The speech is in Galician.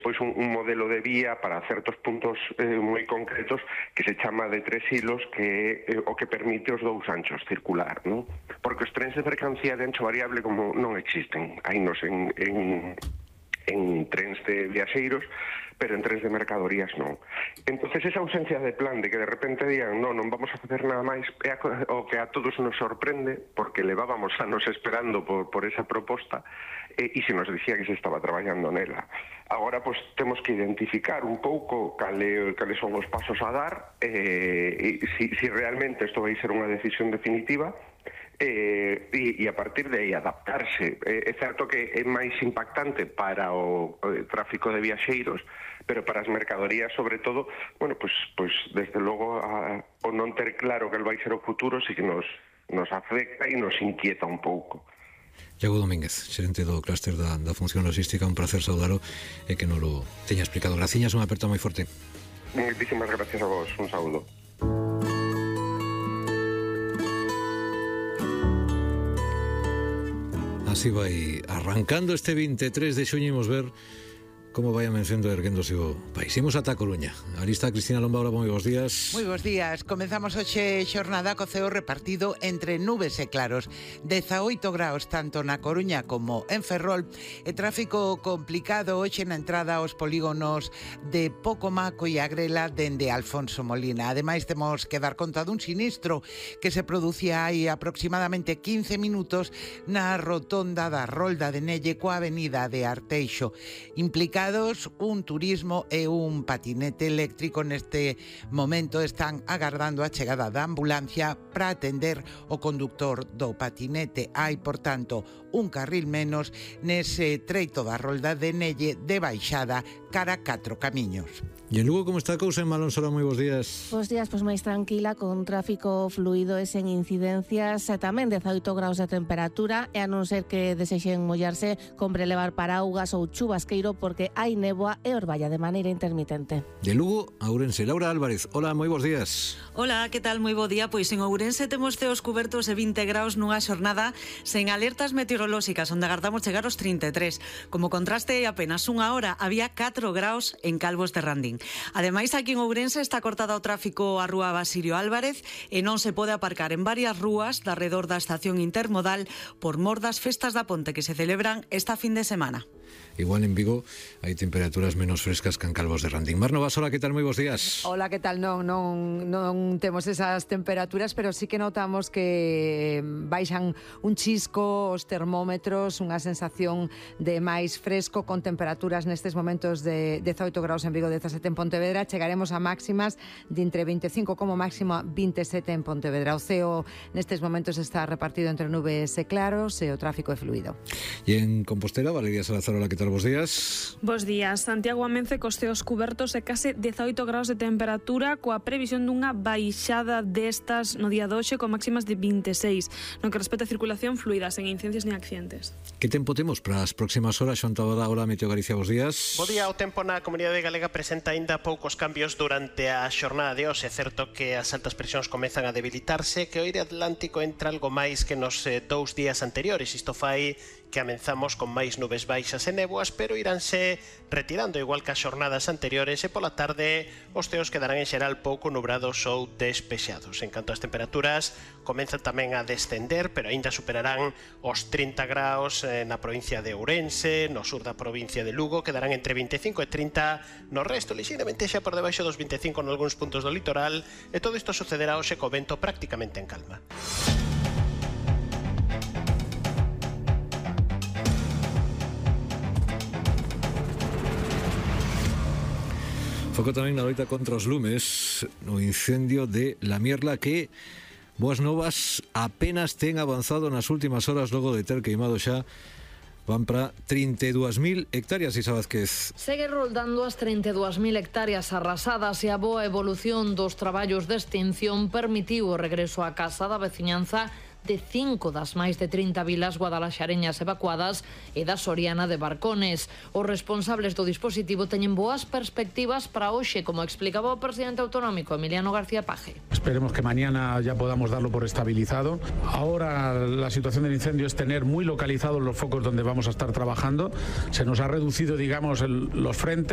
pois un modelo de vía para certos puntos moi concretos que se chama de 3 hilos, que é o que permite os 2 anchos circular, non? Porque os trens de mercancía de ancho variable como non existen, hainos en trens de viaxeiros, pero en trens de mercadorías non. Entonces esa ausencia de plan de que de repente digan non vamos a facer nada máis é o que a todos nos sorprende, porque levábamos anos esperando por esa proposta e se nos dicía que se estaba traballando nela. Agora, pois, temos que identificar un pouco cales son os pasos a dar, si realmente isto vai ser unha decisión definitiva, e a partir de aí adaptarse. É certo que é máis impactante para o tráfico de viaxeiros, pero para as mercadorías, sobre todo, bueno, pois desde logo o non ter claro que vai ser o futuro sí que nos afecta e nos inquieta un pouco. Iago Domínguez, xerente do clúster da función logística, un placer saudalo e que nos lo teña explicado. Graciñas, unha aperta moi forte. Moitísimas gracias a vos, un saúdo. Así vai arrancando este 23 de xuño, imos ver como vai amencendo e erguéndose o país. Imos ata a Coruña. Ali está Cristina Lombaura, moi bons días. Moi bons días. Comezamos hoxe xornada co ceo repartido entre nubes e claros. 18 graus tanto na Coruña como en Ferrol. E tráfico complicado hoxe na entrada aos polígonos de Pocomaco e Agrela dende Alfonso Molina. Ademais, temos que dar conta dun sinistro que se producía hai aproximadamente 15 minutos na rotonda da Rolda de Nelle coa avenida de Arteixo. Implica un turismo e un patinete eléctrico neste momento están agardando a chegada da ambulancia para atender o conductor do patinete. Hai, por tanto, un carril menos nese treito da Rolda de Nelle de baixada cara a 4 camiños. E en Lugo, como está a cousa en Malonsola? Moi bons días. Bos días, pois máis tranquila, con tráfico fluido e sen incidencias, e tamén 18 graus de temperatura, e a non ser que desexen mollarse, compre levar paraugas ou chubasqueiro porque hai néboa e orballa de maneira intermitente. De Lugo a Ourense, Laura Álvarez. Hola, moi bons días. Hola, que tal? Moi bo día. Pois en Ourense temos ceos cubertos e 20 graus nunha xornada sen alertas meteorolóxicas, onde agardamos chegar aos 33. Como contraste, apenas unha hora había 4 graus en Calvos de Randín. Ademais, aquí en Ourense está cortada o tráfico a rúa Basilio Álvarez e non se pode aparcar en varias rúas de arredor da estación intermodal por mor das festas da Ponte que se celebran esta fin de semana. Igual en Vigo hai temperaturas menos frescas que en Calvos de Randín. Mar Novas, hola, que tal? Moi bons días. Hola, que tal? Non temos esas temperaturas, pero sí que notamos que baixan un chisco os termómetros, unha sensación de máis fresco, con temperaturas nestes momentos de 18 graus en Vigo, 17 en Pontevedra. Chegaremos a máximas de entre 25 como máximo a 27 en Pontevedra. O ceo nestes momentos está repartido entre nubes e claros e o tráfico é fluido. E en Compostela, Valeria Salazar, hola, que tal? Bos días. Bos días. Santiago amence cos ceos cubertos e case 18 graus de temperatura, coa previsión dunha baixada destas no día de hoxe con máximas de 26, no que respecta a circulación fluida, sen incidencias ni accidentes. Que tempo temos para as próximas horas? Xoan Tabada, hola, Meteo Galicia, bos días. Bo día. O tempo na Comunidade Galega presenta aínda poucos cambios durante a xornada de hoxe. É certo que as altas presións comezan a debilitarse, que o aire atlántico entra algo máis que nos 2 días anteriores. Isto fai que amenzamos con máis nubes baixas e néboas, pero iránse retirando igual que as xornadas anteriores, e pola tarde os ceos quedarán en xeral pouco nubrados ou despexados. En canto ás temperaturas, comenzan tamén a descender, pero aínda superarán os 30 graus na provincia de Ourense, no sur da provincia de Lugo, quedarán entre 25 e 30 no resto, lixeiramente xa por debaixo dos 25 en algúns puntos do litoral, e todo isto sucederá hoxe co vento prácticamente en calma. Foco tamén na loita contra os lumes no incendio de La Mierla, que, boas novas, apenas ten avanzado nas últimas horas logo de ter queimado xa. Van para 32.000 hectáreas, Isa Vázquez. Segue roldando as 32.000 hectáreas arrasadas, e a boa evolución dos traballos de extinción permitiu o regreso á casa da veciñanza de 5 das máis de 30 vilas guadalaxareñas evacuadas e da Soriana de Barcones. Os responsables do dispositivo teñen boas perspectivas para hoxe, como explicaba o presidente autonómico Emiliano García Paje. Esperemos que mañana ya podamos darlo por estabilizado. Ahora la situación del incendio es tener muy localizados los focos donde vamos a estar trabajando. Se nos ha reducido, digamos, los frentes.